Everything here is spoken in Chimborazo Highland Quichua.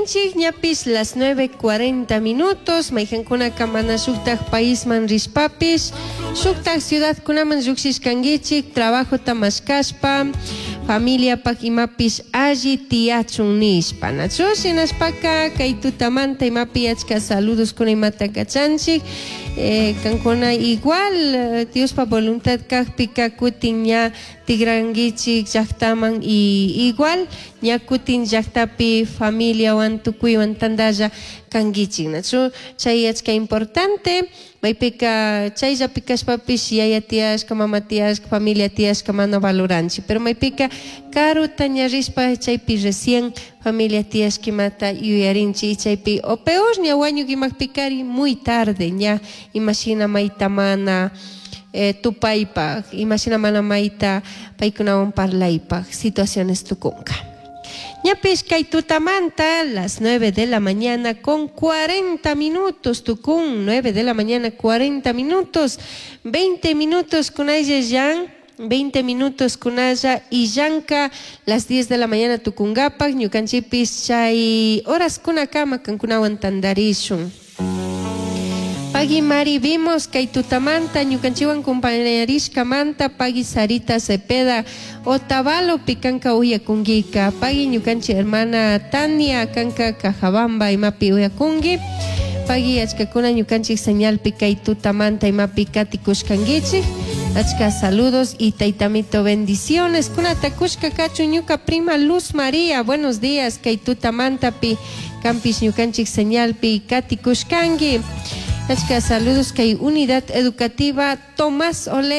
Katinchik ñapish las 9:40 minutos, mayqankunaka mana shuktak paisman rishpapish, shuktak ciudadkunaman llukshishkankichik, trabajota mashkashpa, familiapak imapish alli tiyachun nishpa. Nachu shinashpaka kay tutamanta imapi achka saludoskuna imata kachanchik, kankuna igual Diospa voluntad kakpika kutin ña tigrankichik llaktaman y igual ña kutin llaktapi familiawan tukuywan tantalla kankichik, nachu chay achka importante. Maypika chayllapi kashpapish yaya tiyashka, mama tiyashka, familia tiyashka mana valoranchik, pero maypika karuta ña rishpa chaypi recién familia tiyashka imata yuyarinchik y chaypi o peor ña wañuk imakpikari muy tarde ña imashina mayta mana tupaypak, imashina mana mayta paykunawan parlaypak situaciones tukunka. Ñapish kay tutamanta las 9 de la mañana con 40 minutos tukun, 9 de la mañana 40 minutos, 20 minutos kunalla llan, 20 minutos kunalla illanka las 10 de la mañana tukungapak ñukanchipis chay horas kunakama kankunawan tandarishun. Pagui Mari vimos kay tutamanta ñukanchiwan compañerishkamanta pagui Sarita Cepeda Otavalo pikanka uyakunkika pagui ñukanchi hermana Tania kanka Cajabamba imapi uyakunki pagui achkakuna ñukanchik señalpi kay tutamanta imapi katikushkankichik achka saludos y taytamito bendiciones kunata kushka kachun ñuka prima Luz María buenos días kay tutamantapi kampis ñukanchik señalpi katikushkanki. Achka saludos kay unidad educativa Tomás Ole.